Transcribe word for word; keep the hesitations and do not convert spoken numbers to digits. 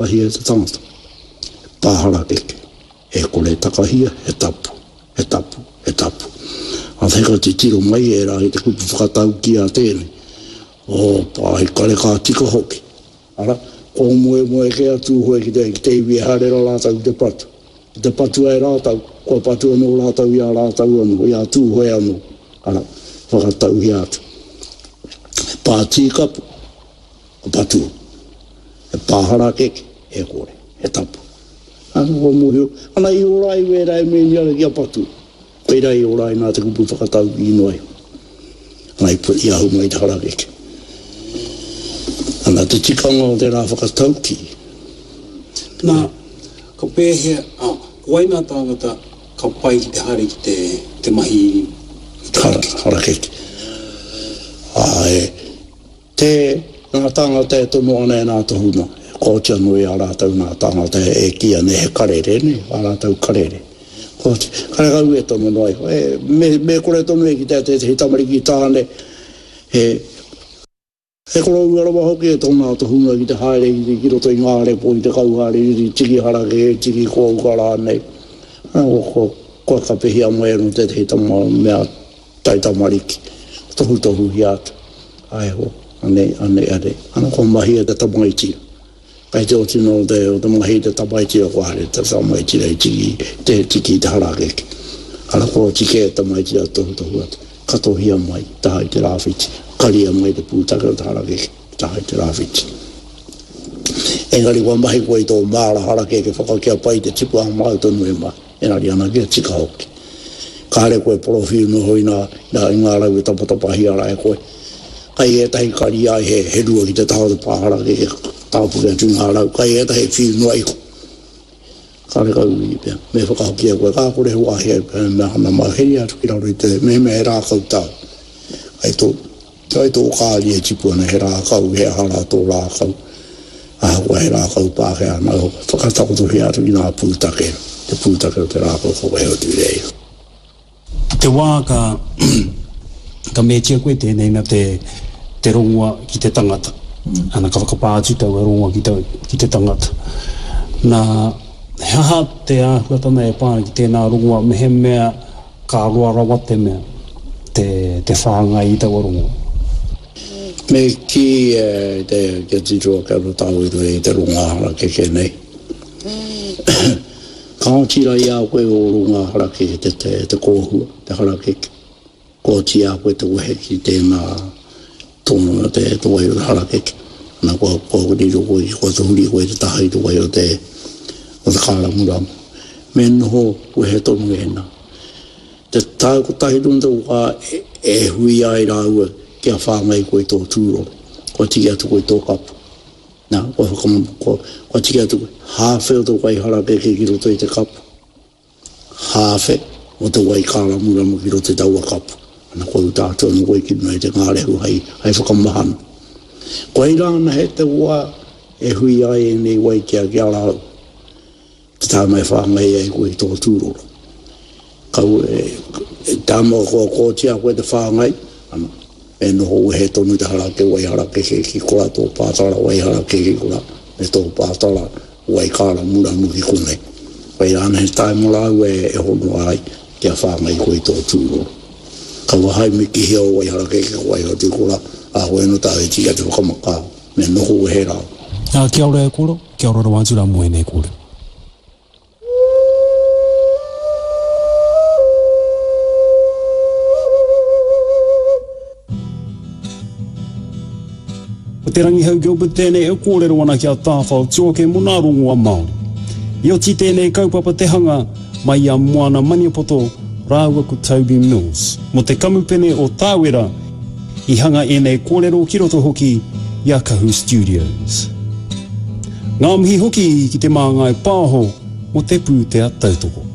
Takahia e te tangata, he pā harakeke, e kore takahia, he tapu, he tapu, he tapu. A te ka titiro mai e rā i te kupu whakataukī a tēnei, o pā i kare ka tika hoki. Ara, ko moemoe kē a Tūhoe ki te, ki te iwi e haere rā rātou ki te patu. Ki te patua e rātou, kua patu anō rātou i a rātou anō, i a Tūhoe anō. Ara, whakatauhia atu. He pā tīkapu, ka patua. He pā harakeke, e kore, he tapu. Ana kua mōhio, ana i ora ai wērā e mēni ana kia patua. Koirā i ora ai nā te kupu whakataukī noa iho. Ana i, i ahu mai te harakeke. Ana te tikanga o tērā whakataukī. Nā, ka pēhea, ā, ko wai ngā tāngata ka pai ki te haere ki te, te mahi i te harakeke? Harakeke. Āe. Te, ngā tāngata e tono ana e nā tohunga, e kooti anō i a rātou nā tāngata e kīia nei he karere, nē, ā rātou karere. Kooti, karekau e tono noa iho, e, me, me kore tonu e kitea tētehi tamariki tāne, he, he koroua rawa hoki e tōna tohunga ki te haere ki, ki roto i ngā repo, i te kauhaere, i te tiki harakeke, tiki kōuka rānei. Ko, ko, kua kapehia mai anō tētehi tama mea taitamariki, tohutohuhia atu. Ae ho, anei, anei, anei. Ana kua mahia te tamaiti. Kai te oti no te, o te mahi te tamaiti ra kua haere te tamaiti ra i tiki, te tiki i te harakeke. Ana kua oti kē te tamaiti ra tohutohu atu. Katohia mai, taha i te rāwhiti. Karia mai te pūtake o te harakeke, taha i te rāwhiti. Engari kua mahi koe i tō māra harakeke whakakia pai te tipu a māu tonu e mahi. Engari ana kia tika hoki. Kāre koe porowhiu noho i ngā, i ngā rau e tapatapahia rā e koe. Kai ētahi kari ai he, he rua ki te taha o te pā harakeke, tāpuke atu ngā rau. Kai ētahi whiu noa iho. Karekau i pea, me whakahoki e koe, ka kore he wāhi ai pea, mea ana mau heri atu ki raro i te, mehemea he rākau tāu. Kai tō, kai tō kāri e tipu ana he rākau, he aha rā tō rākau. Ahakoa he rākau Pākehā nā, whakatakotohia atu ki ngā pūtake, te pūtake o te rākau ka wehe atu i reira. I te wā ka, ka meatia koe tēnei mea te, te rongoa ki te tangata, ana ka whakapā atu taua rongoa ki, tau, ki te tangata. Nā, he aha te āhuatanga e pā ana ki tēnā rongoa mehemea ka roa rawa te mea, te, te whāngai i taua rongoa? Me kī te, kia tiro ake anō tāu i roto i te rongoā harakeke nei. Ka oti rā i a koe ō rongoā harakeke te, te, te kōhua, te harakeke. Kua oti i a koe te wehe ki tēnā tōna te, te wai o te harakeke. Ana kua, kua riro koe, kua tahuri koe te taha i te wai o te, o te kāramuramu. Me noho wehe tonu ēnā. Te tau kotahi tonu te wā e hui ai rāua kia whāngai koe i tō tūroro. Kua tiki atu koe i tō kapu. Nā, kua whakam, kua, kua tiki atu koe, hāwhe o te wai harakeke ki roto i te kapu. Hāwhe o te wai kāramuramu ki roto i taua kapu. Ana kua uta atu anō koe ki runga i te ngārehu hei, hei whakamahana. Koirā anahe te wā e hui ai ēnei wai ki a, ki a rāua. Te tāma e whāngai ai koe i tō tūroro. Kaua e, e tāma kua kōtia koe te whāngai, ana, me noho wehe tonu te harake wai harakeke ki kora tō pātara wai harakeke ki kora, me tō pātara wai kāramuramu ki konei. Koirā ana he taima rāua e, e honoa ai kia whāngai koe i tō tūroro. Kaua hai mikihia o wai harakeke ko wai hotu kora, a koe no tāu e tika te whakamakā, me noho wehe rāua. Ā, kia ora e koro, kia ora rawa atu rā mō ēnei kōrero. Ko Te Rangihau Gilbert tēnei e kōrero ana ki a Tāwhao Tuoke mō nā rongoa Māori. I oti tēnei kaupapa te hanga mai i a Moana Maniapoto rāua ko Toby Mills mō te kamupene o Tāwera i hanga ēnei kōrero ki roto hoki i a Kahu Studios. Ngā mihi hoki ki Te Māngai Pāho mō te pūtea tautoko.